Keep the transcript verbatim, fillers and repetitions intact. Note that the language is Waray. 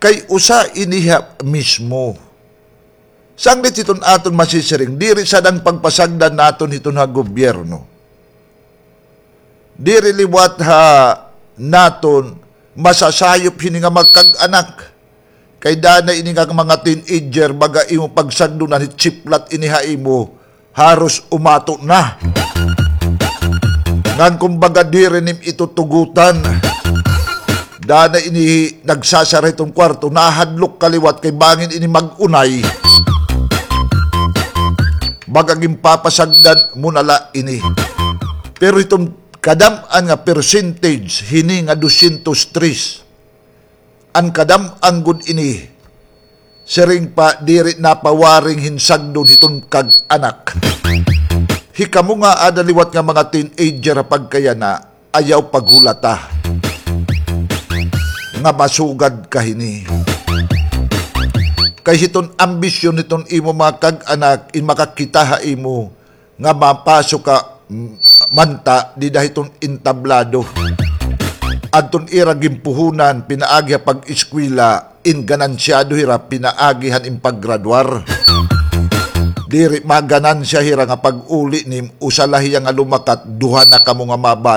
Kay usa ini ha mismo. Sanglit hiton aton masisiring, diri sadang pagpasagdan naton hiton ha gobyerno. Diri liwat ha naton masasayop hini nga mga kag-anak. Kay danay ini nga mga teenager, baga imo pagsagdonan, hitsiplat ini ha imo, haros umato na. Ngan kumbaga diri nim ito tugutan. Danay ini nagsasara hiton kwarto, nahadlok ka liwat kay bangin ini mag-unay. Baga ginpapasagdan mo na la ini. Pero hiton kadam-an nga percentage hini nga dosyentos tres, an kadam-an gud ini, siring pa, diri napawaring hinsagdon hiton kag-anak. Hikamo nga ada liwat nga mga teenager ha pagkayana, ayaw paghulata nga masugad ka hini. Kay hiton ambisyon hiton imo mga kag-anak, in makakita ha imo nga mapasok ka, mm, manta dida hiton entablado. Adton ira ginpuhunan pinaagi ha pag-eskwela, in ganansyado hira pinaagi han in paggraduar. Diri maganansya hira nga pag-uli nim, usa la hiya nga lumakat, duha na kamo nga mga